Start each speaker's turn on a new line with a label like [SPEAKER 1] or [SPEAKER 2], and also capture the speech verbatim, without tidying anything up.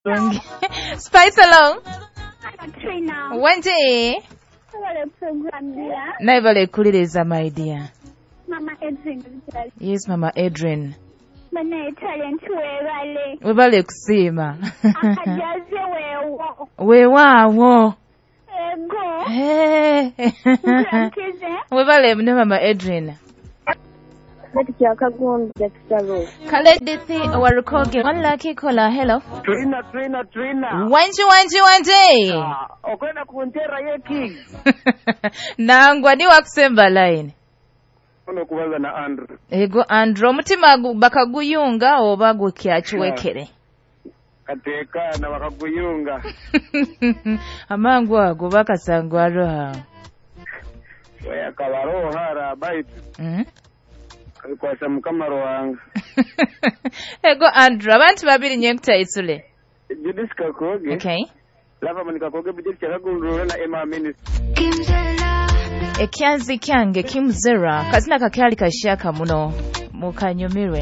[SPEAKER 1] Spice along.
[SPEAKER 2] Trina.
[SPEAKER 1] Wendy.
[SPEAKER 2] Wale program dear.
[SPEAKER 1] Naibale kuliriza my dear.
[SPEAKER 2] Mama Edwin.
[SPEAKER 1] Yes, Mama Adrian.
[SPEAKER 2] Bana talent webale.
[SPEAKER 1] Webale kusiima.
[SPEAKER 2] Akajaze wewo.
[SPEAKER 1] Weewaawo.
[SPEAKER 2] Ego.
[SPEAKER 1] Hey.
[SPEAKER 2] Nkuramkize.
[SPEAKER 1] Webale ne Mama Adrian.
[SPEAKER 3] Kati kyakagonza kitalo.
[SPEAKER 1] Kaledithi warukoge. One lucky caller. Hello.
[SPEAKER 4] Trina, Trina, Trina.
[SPEAKER 1] Wanji wanji wanji.
[SPEAKER 4] Ah, okwenda kuntera ye king.
[SPEAKER 1] Nangwa ni wakusemba line.
[SPEAKER 4] Ono kubaza na Andrew.
[SPEAKER 1] Ego Andrew omutima gu- bakaguyunga oba gukyakiwekere.
[SPEAKER 4] Kateeka na bakaguyunga.
[SPEAKER 1] Amangu ago bakasangwa roha.
[SPEAKER 4] Oya kabaroha rabaitu.
[SPEAKER 1] Mm?
[SPEAKER 4] Kabikwasa mukama ruhanga.
[SPEAKER 1] Ego Andrew abantu babiri nyenkutaisule.
[SPEAKER 4] Judith Kakoge.
[SPEAKER 1] Okay.
[SPEAKER 4] Lava mani Kakoge Judith Kyakagundura na Emma Minister.
[SPEAKER 1] Ekyanzi kyange kimuzera kazina kakyali kashaka muno mukanyumirwe.